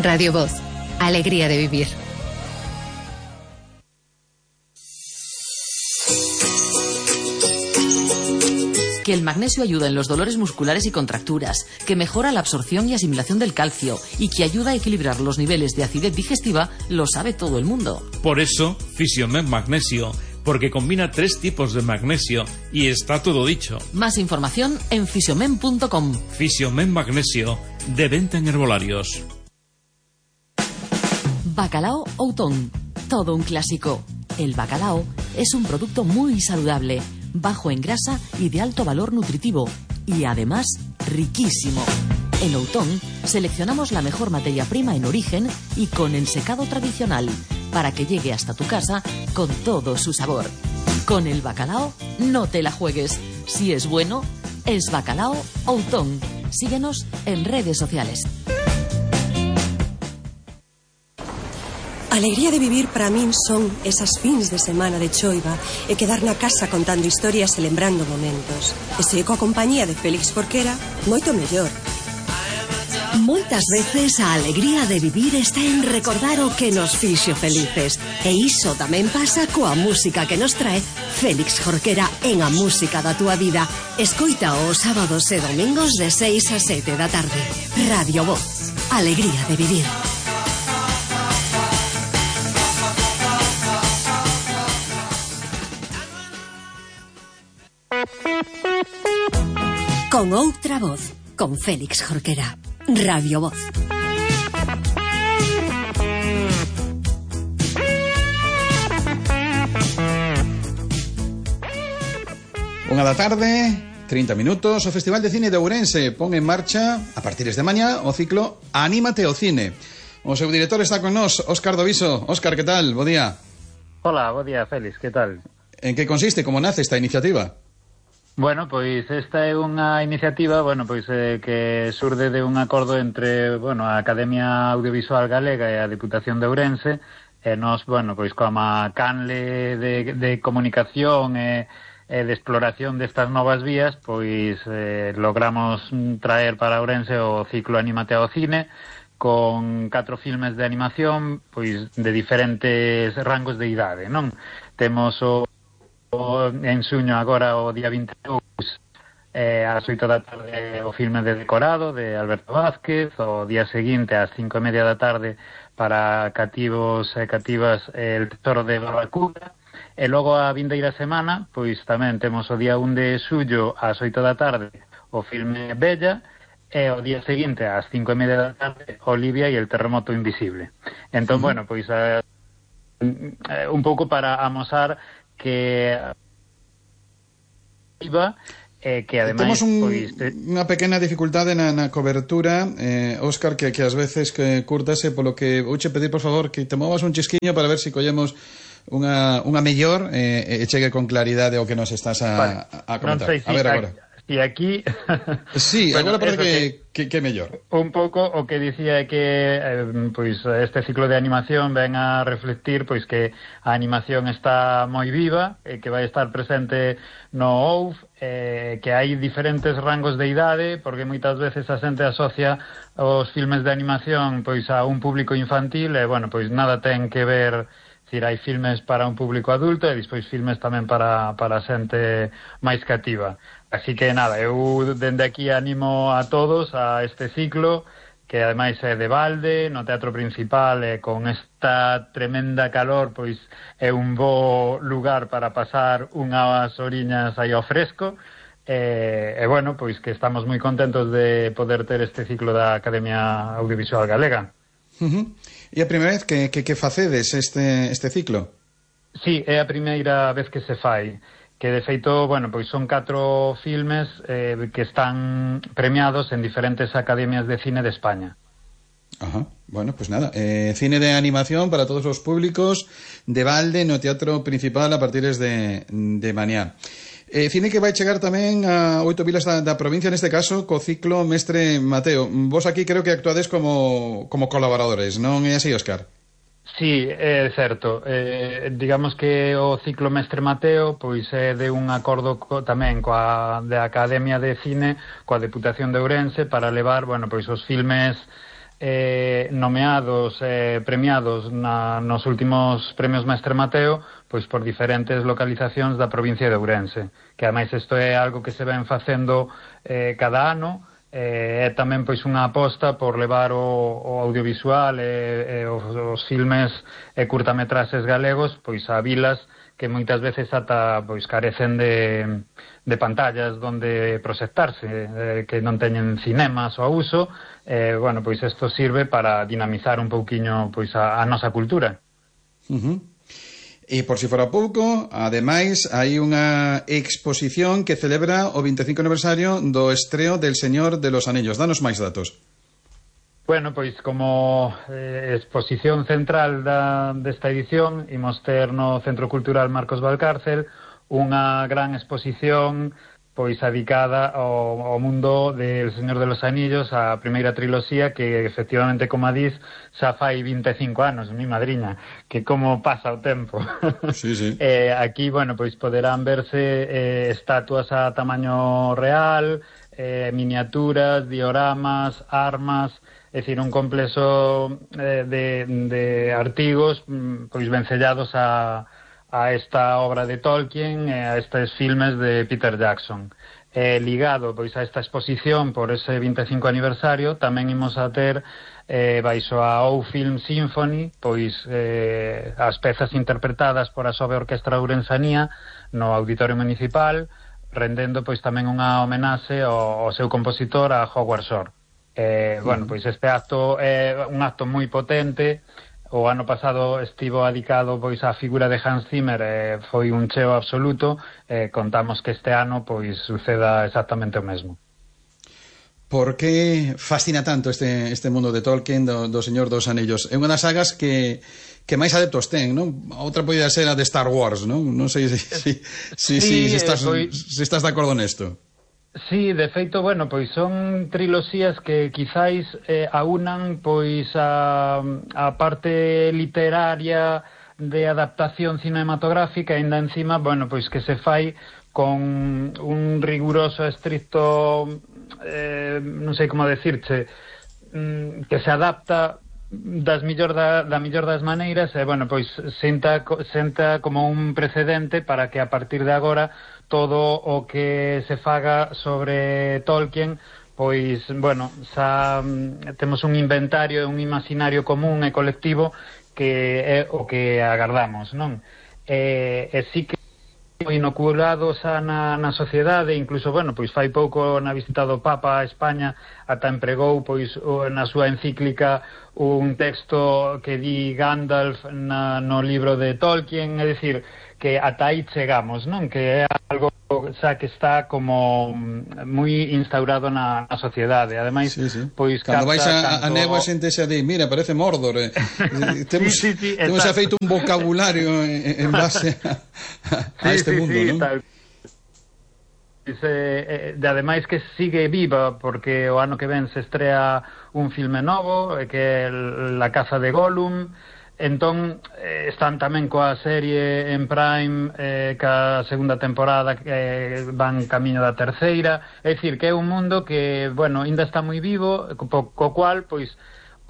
Radio Voz. Alegría de vivir. Que el magnesio ayuda en los dolores musculares y contracturas, que mejora la absorción y asimilación del calcio y que ayuda a equilibrar los niveles de acidez digestiva, lo sabe todo el mundo. Por eso, Fisiomen Magnesio, porque combina 3 tipos de magnesio y está todo dicho. Más información en fisiomen.com. Fisiomen Magnesio, de venta en herbolarios. Bacalao Outón, todo un clásico. El bacalao es un producto muy saludable, bajo en grasa y de alto valor nutritivo, y además riquísimo. En Outón seleccionamos la mejor materia prima en origen y con ensecado tradicional, para que llegue hasta tu casa con todo su sabor. Con el bacalao no te la juegues. Si es bueno, es Bacalao Outón. Síguenos en redes sociales. Alegría de vivir para min son esas fins de semana de choiva e quedar na casa contando historias e lembrando momentos. E se coa compañía de Félix Jorquera, moito mellor. Moitas veces a alegría de vivir está en recordar o que nos fixo felices. E iso tamén pasa coa música que nos trae Félix Jorquera en A Música da Túa Vida. Escoita os sábados e domingos de 6 a 7 da tarde. Radio Voz. Alegría de vivir. Con outra voz, con Félix Jorquera. Radio Voz. Unha da tarde, 30 minutos. O Festival de Cine de Ourense pon en marcha, a partir de mañá, o ciclo Anímate ao Cine. O seu director está con nós, Óscar Doviso. Óscar, que tal? Bo día. Hola, bo día, Félix, que tal? En que consiste, como nace esta iniciativa? Bueno, pois esta é unha iniciativa, que surde de un acordo entre, a Academia Audiovisual Galega e a Diputación de Ourense, e nós, como canle de comunicación e de exploración destas novas vías, logramos traer para Ourense o ciclo Anímate ao Cine, con 4 filmes de animación, de diferentes rangos de idade, non? Temos en suño agora o día 22 ás 8 da tarde o filme de Decorado de Alberto Vázquez, o día seguinte ás 5:30 da tarde para cativos e cativas El Tesoro de Barracuda, e logo a vindeira semana tamén temos o día 1 de xullo ás 8 da tarde o filme Bella, e o día seguinte ás 5:30 da tarde Olivia e El Terremoto Invisible. Entón, un pouco para amosar que ademais temos unha pequena dificultade na cobertura, Óscar, que ás veces que curtase, polo que vouche pedir, por favor, que te movas un chisquiño para ver se collemos unha mellor e chegue con claridade o que nos estás a comentar. Non sei, a ver agora. E aquí... Sí, agora parece que é mellor. Un pouco o que dicía é que este ciclo de animación ven a reflectir que a animación está moi viva, e que vai estar presente no OUF, que hai diferentes rangos de idade, porque moitas veces a xente asocia os filmes de animación a un público infantil, e nada ten que ver. Hai filmes para un público adulto e despois filmes tamén para xente máis cativa. Así que nada, eu dende aquí animo a todos a este ciclo, que ademais é de balde, no Teatro Principal, e con esta tremenda calor, é un bo lugar para pasar unhas horiñas aí ao fresco, que estamos moi contentos de poder ter este ciclo da Academia Audiovisual Galega. E a primeira vez que facedes este ciclo? Sí, é a primeira vez que se fai, que de feito, son 4 filmes que están premiados en diferentes academias de cine de España. Ajá, nada, cine de animación para todos os públicos de balde no Teatro Principal a partir de mañá. Cine que vai chegar tamén a 8 vilas da provincia, neste caso, co ciclo Mestre Mateo. Vos aquí creo que actuades como colaboradores, non é así, Óscar? Sí, é certo. Digamos que o ciclo Mestre Mateo é de un acordo tamén da Academia de Cine coa Deputación de Ourense para levar, os filmes nomeados, premiados nos últimos premios Mestre Mateo, pois por diferentes localizacións da provincia de Ourense, que ademais isto é algo que se ven facendo cada ano. É tamén pois unha aposta por levar o audiovisual e os filmes e curtametraxes galegos pois a vilas que moitas veces ata pois carecen de pantallas donde proxectarse, que non teñen cinemas ao uso. Bueno, pois isto sirve para dinamizar un pouquiño pois a nosa cultura. E por si fora pouco, ademais, hai unha exposición que celebra o 25 aniversario do estreo del Señor de los Anillos. Danos máis datos. Bueno, pois como exposición central desta edición, imos ter no Centro Cultural Marcos Valcárcel unha gran exposición pois dedicada ao mundo del Señor de los Anillos, a primeira triloxía que efectivamente, como a dis, xa fai 25 anos, mi madriña, que como pasa o tempo. Sí, sí. Aquí, bueno, pois poderán verse estatuas a tamaño real, miniaturas, dioramas, armas, é dicir, un complexo de artigos pois vencellados a esta obra de Tolkien e a estes filmes de Peter Jackson. Ligado pois a esta exposición por ese 25 aniversario, tamén imos a ter baixo a OU Film Symphony pois as pezas interpretadas por a Sobe Orquestra Ourensanía no Auditorio Municipal, rendendo pois tamén unha homenaxe ao seu compositor, a Howard Shore. Bueno, pois este acto é un acto moi potente. O ano pasado estivo adicado pois á figura de Hans Zimmer, foi un cheo absoluto. Contamos que este ano pois suceda exactamente o mesmo. Por que fascina tanto este mundo de Tolkien, do Señor dos Anillos? É unha das sagas que máis adeptos ten, non? Outra podía ser a de Star Wars, non? Non sei se estás de acordo nesto. Sí, de feito, bueno, pois son triloxías que quizáis aunan pois a parte literaria de adaptación cinematográfica, e ainda encima, bueno, pois que se fai con un riguroso, estricto, non sei como decirche, que se adapta da mellor das maneiras, e, bueno, pois senta como un precedente para que a partir de agora todo o que se faga sobre Tolkien, pois, bueno, xa temos un inventario e un imaginario común e colectivo que é o que agardamos, non? E sí que inoculado xa na sociedade, incluso, bueno, pois fai pouco na visita do Papa a España ata empregou pois na súa encíclica un texto que di Gandalf no libro de Tolkien, é dicir, que ata aí chegamos, non? Que é algo xa que está como moi instaurado na sociedade. Ademais, sí, sí. Pois cando vais a néboa xente xa di, mira, parece Mordor. Temos xa feito un vocabulario en base a este mundo, non? Tal. Ademais que sigue viva, porque o ano que ven se estrea un filme novo que é La caza de Gollum. Entón están tamén coa serie en Prime, ca segunda temporada que van camiño da terceira. É dicir, que é un mundo que, bueno, ainda está moi vivo, co cual, pois,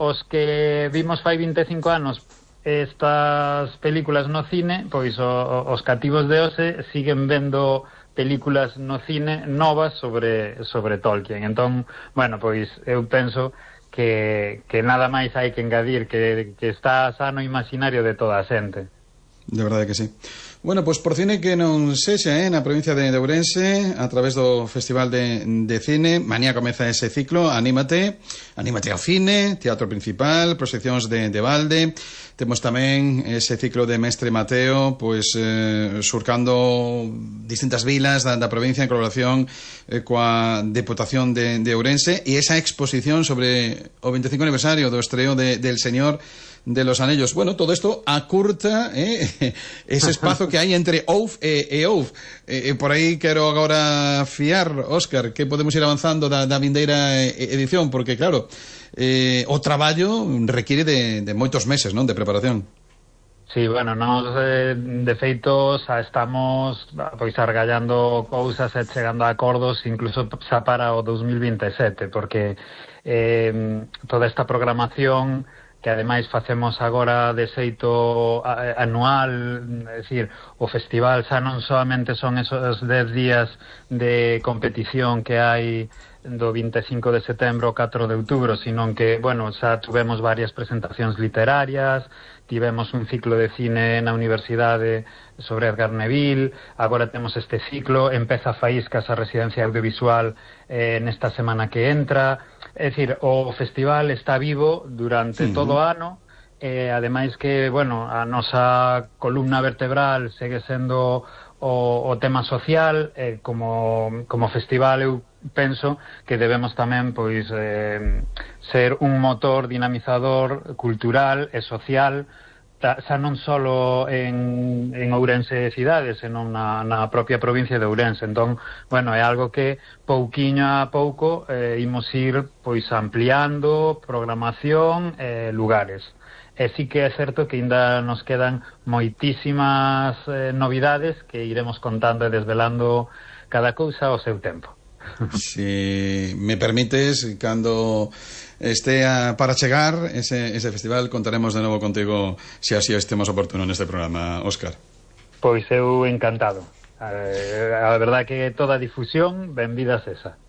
os que vimos fai 25 anos estas películas no cine, pois os cativos de hoxe siguen vendo películas no cine novas sobre Tolkien. Entón, bueno, pois eu penso que nada máis hai que engadir, que está sano imaginario de toda a xente. De verdade que sí. Bueno, pois por cine que non sexa, na provincia de Ourense, a través do Festival de Cine, mañá comeza ese ciclo, anímate ao cine, teatro principal, proxeccións de balde. Temos tamén ese ciclo de Mestre Mateo, pois surcando distintas vilas da provincia en colaboración coa Deputación de Ourense, e esa exposición sobre o 25 aniversario do estreo del Señor de los Anillos. Bueno, todo isto acurta ese espazo que hai entre OUF e OUF. Por aí quero agora fiar, Óscar, que podemos ir avanzando da vindeira edición, porque claro, o traballo requiere de moitos meses, non, de preparación. Sí, bueno, nós de feito xa estamos pois argallando cousas e chegando a acordos incluso xa para o 2027, porque toda esta programación que ademais facemos agora de xeito anual, é dicir, o festival xa non solamente son esos 10 días de competición que hai do 25 de setembro ao 4 de outubro, sino que, bueno, xa tuvemos varias presentacións literarias, tivemos un ciclo de cine na universidade sobre Edgar Neville, agora temos este ciclo, empeza Faíscas, a residencia audiovisual nesta semana que entra. É dicir, o festival está vivo durante todo o ano, ademais que, bueno, a nosa columna vertebral segue sendo o tema social, como festival eu penso que debemos tamén pois ser un motor dinamizador cultural e social, xa non só en Ourense cidade, senón na propia provincia de Ourense. Entón, bueno, é algo que pouquiño a pouco imos ir pois ampliando programación e lugares. E sí que é certo que ainda nos quedan moitísimas novidades que iremos contando e desvelando cada cousa ao seu tempo. Si me permites, cando estea para chegar ese festival, contaremos de novo contigo se así estemos oportuno neste programa, Óscar. Pois eu encantado. A verdade que toda a difusión, benvida esa.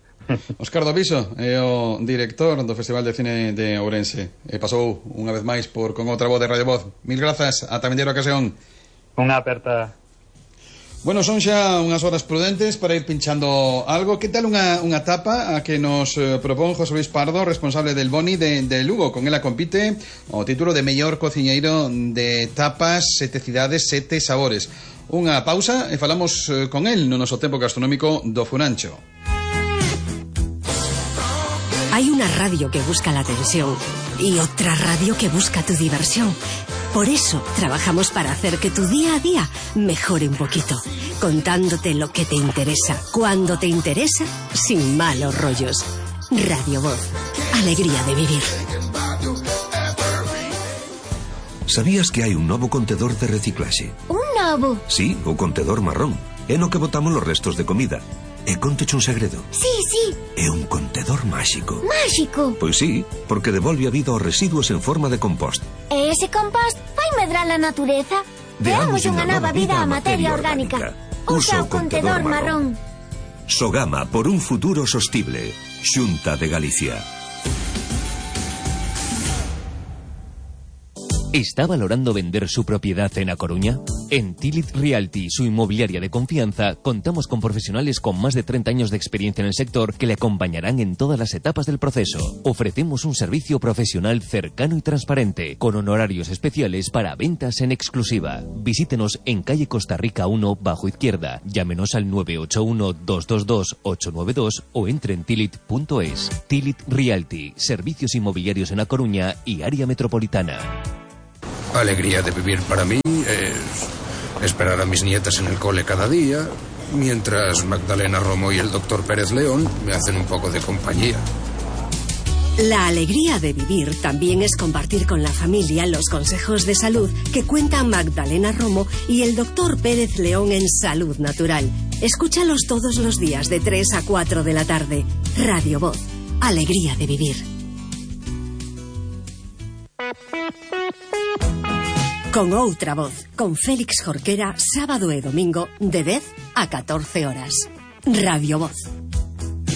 Óscar Doviso é o director do Festival de Cine de Ourense e pasou unha vez máis con outra voz de Radio Voz. Mil grazas, ata vindeira ocasión. Unha aperta. Bueno, son xa unhas horas prudentes para ir pinchando algo. Que tal unha tapa a que nos propón José Luis Pardo, responsable del Boni de Lugo? Con ela compite o título de mellor cociñeiro de tapas, 7 cidades, 7 sabores. Unha pausa e falamos con el no noso tempo gastronómico do Funancho. Hay una radio que busca la atención y otra radio que busca tu diversión. Por eso trabajamos para hacer que tu día a día mejore un poquito, contándote lo que te interesa, cuando te interesa, sin malos rollos. Radio Voz, alegría de vivir. ¿Sabías que hai un novo contedor de reciclaxe? Un novo? Sí, o contedor marrón. É no que botamos los restos de comida. E conteche un segredo. Sí. É un contedor máxico. Máxico? Pois sí, porque devolve a vida aos residuos en forma de compost. E ese compost vai medrar a natureza? Deamos unha nova vida á materia orgánica. Usa o contedor marrón. Sogama por un futuro sostible. Xunta de Galicia. ¿Está valorando vender su propiedad en A Coruña? En Tilit Realty, su inmobiliaria de confianza, contamos con profesionales con más de 30 años de experiencia en el sector que le acompañarán en todas las etapas del proceso. Ofrecemos un servicio profesional cercano y transparente, con honorarios especiales para ventas en exclusiva. Visítenos en calle Costa Rica 1, bajo izquierda. Llámenos al 981-222-892 o entre en tilit.es. Tilit Realty, servicios inmobiliarios en A Coruña y área metropolitana. Alegría de vivir para mí es esperar a mis nietas en el cole cada día, mientras Magdalena Romo y el doctor Pérez León me hacen un poco de compañía. La alegría de vivir también es compartir con la familia los consejos de salud que cuentan Magdalena Romo y el doctor Pérez León en Salud Natural. Escúchalos todos los días de 3 a 4 de la tarde. Radio Voz, alegría de vivir. Con outra voz, con Félix Jorquera, sábado e domingo de 10 a 14 horas. Radio Voz.